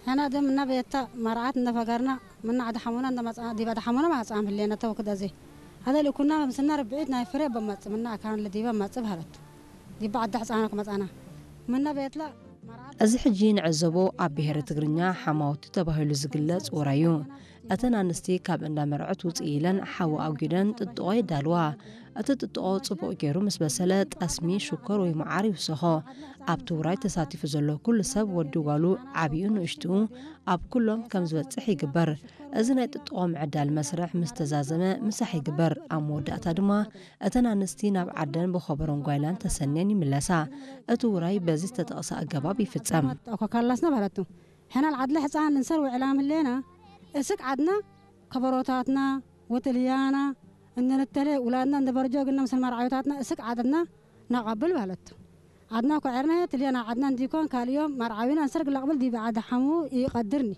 ሕና ደም እና ቤታ ማርዓት እንደ ፈገርና ምና ዓደ ሓሙና እንደ መጽ ዲባ ዓደ ሓሙና ማጽኣም ህሌና ተወክደ ዘይ ኣደ ልኩና ምስና ርብዒት ናይ ፍሬ በመጽ ምና ኣካን ለዲባ መጽ ባህለቱ ዲባ ዓደ ሕጻና ከመጻና ምና ቤትላ ማርዓት እዚ ሕጂ ንዕዘቦ ኣብ ብሄረ ትግርኛ ሓማውቲ ተባሂሉ ዝግለጽ ውራይ እዩ። እተን ኣንስቲ ካብ እንዳ መርዑት ውፅእ ኢለን ሓዊ ኣጉደን ጥጥቖ የዳልዋ። እቲ ጥጥቖ ፅቡቕ ገይሩ ምስ በሰለ ጠስሚ፣ ሽኮር ወይ መዓር ይውሰኾ። ኣብቲ ውራይ ተሳቲፉ ዘሎ ኩሉ ሰብ፣ ወዲ ጓሉ፣ ዓብዩ ንእሽትኡ፣ ኣብ ኩሎም ከም ዝበፅሕ ይግበር። እዚ ናይ ጥጥቖ ምዕዳል መስርሕ ምስ ተዛዘመ ምሳሕ ይግበር። ኣብ መወዳእታ ድማ እተን ኣንስቲ ናብ ዓደን ብኸበሮን ጓይላን ተሰንየን ይምለሳ። እቲ ውራይ በዚ ዝተጠቕሰ ኣገባብ ይፍጸም። ኮካላስና ባለቱ ሕና ዓድለ ሕፃን ልንሰር ውዕላም ህሌና እስቅ ዓድና ከበሮታትና ወትልያና እንንተለ ውላድና እንደ በርጆ ግና ምስል መርዓዊታትና እስቅ ዓድና ናቐብል ባለቱ ዓድና ኮዐርና ትልያና ዓድና እንዲኮን ካልዮም መርዓዊና እንሰርግ ላቕብል ዲቢ ዓድ ሓሙ ይቐድርኒ።